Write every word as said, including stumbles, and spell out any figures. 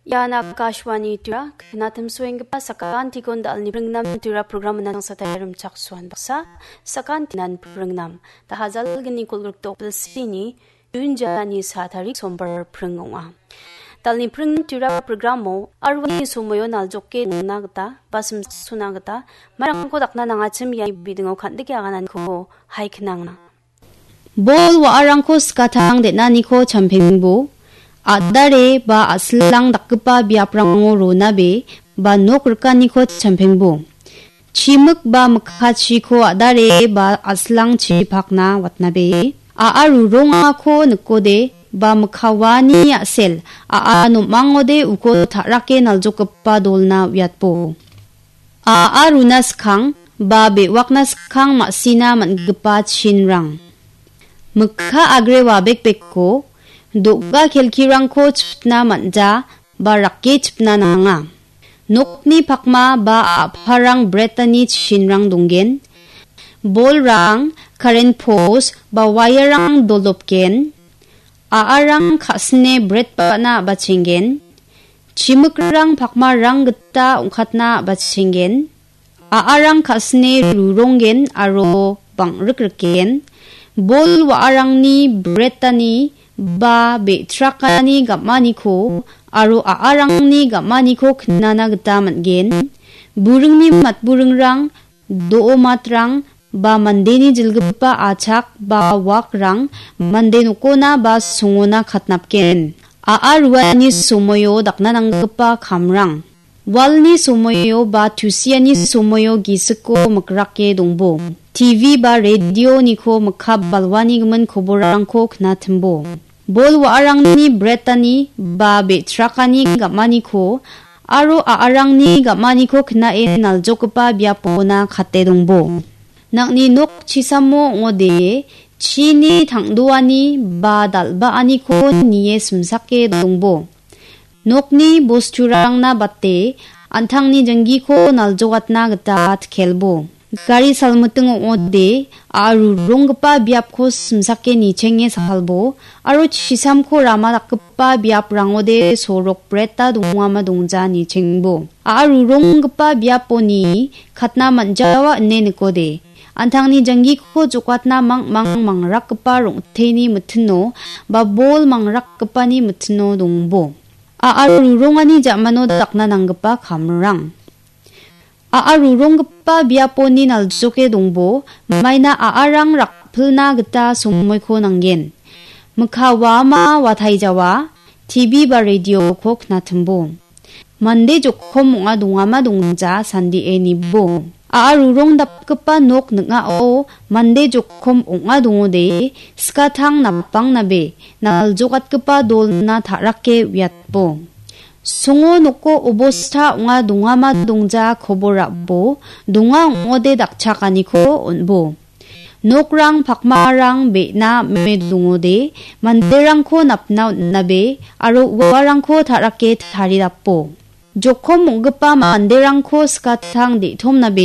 Ian Akashvani Tura, knatim suenggipa sakantikon dalni pringnam Tura program menang satai rimchak suan baksa, sakantinan pringnam, da hajalgni kolgrikdok bilsini, Jun jalani sa tarik sombar pring ong·a. Dalni pringnam Tura programo arwani somoio naljoke nangna gita, basim suna gita, marangko dakna nangachim iani bidingo kandike agananiko hai knangna. Bol wa·arangko skatang den·aniko champengbo, a·dare ba a·silang dakgipa biaprango ronabe ba nok rikaniko champengbo. Chimik ba mikkachiko a·dare ba a·silangchi pakna watnabe. A·a rurongako nikode ba mikkawani a·sel a·a nom·angode uko ta·rake naljokgipa dolna uiatbo. A·a runa skang ba be·wakna skang ma·sina man·gipa chinrang. Mikka agre wabekbeko do·ga kelkirangko chipna man·ja ba rake chipna nanga. Nokni pakma ba a·parang bretani chinrang donggen. Bolrang, karen pos ba wairang dolopgen. A·arang ka·sine bret ba·na a·bachenggen. Chimikrang pakmarang gita ong·katna a·bachenggen. A·arang ka·sine ruronggen aro bang·rikrikgen. Bol wa·arangni bretani ba be·trakani gam·aniko aro a·arangni gam·aniko knana gita man·gen. Buringni matburingrang, do·o matrang ba mandeni jilgipa achak ba wakrang mande nokona ba songona katnapgen. A·a ruani somoio dakna nanggipa kamrang. Walni somoio ba tusiani somoio gisiko mikrake dongbo. T V ba radioniko mikka balwani gimin koborrangko knatimbo. Bol wa·arangni bretani ba be·trakani gam·aniko aro a·arangni gam·aniko knae naljokgipa biapona kate dongbo. Nang·ni nok chisamo ong·ode chini tangdoani ba dal·baaniko nie simsake dongbo. Nokni bosturangna bate an·tangni jinggiko naljokatna gita tkelbo. Gari salmiting ong·ode a·a ruronggipa biapko simsake nichenge salbo aro chisamko rama dakgipa biaprangode sorok breta dongama dongja nichengbo. A·a ruronggipa biaponi katna man·jawa ine nikode. An·tangni janggiko jokatna mangmang mangrakgipa rong·teni mitino ba bol mangrakgipani mitino dongbo. A·a rurongani ja·mano dakna nanggipa kamrang. A·a ruronggipa biaponi naljoke dongbo, maina a·arang rakpilna gita somoiko nanggen. Mikka wama wataijawa, T V ba radioko knatimbo. Mande jokkom ong·a dongama dongja sandie nibo. A·a rurong dapgipa nok ning·ao mande jokkom ong·a dongode, skatang napangnabe, naljokatgipa dolna ta·rake uiatbo. Songo noko obosta ong·a dongama dongja kobor ra·bo, donga ong·ode dakchakaniko on·bo. Nokrang pakmarang be·na ame dongode, manderangko napna on·nabe, aro uarangko ta·rake taridapo. Jokkom ong·gipa manderangko skatang de·tomnabe,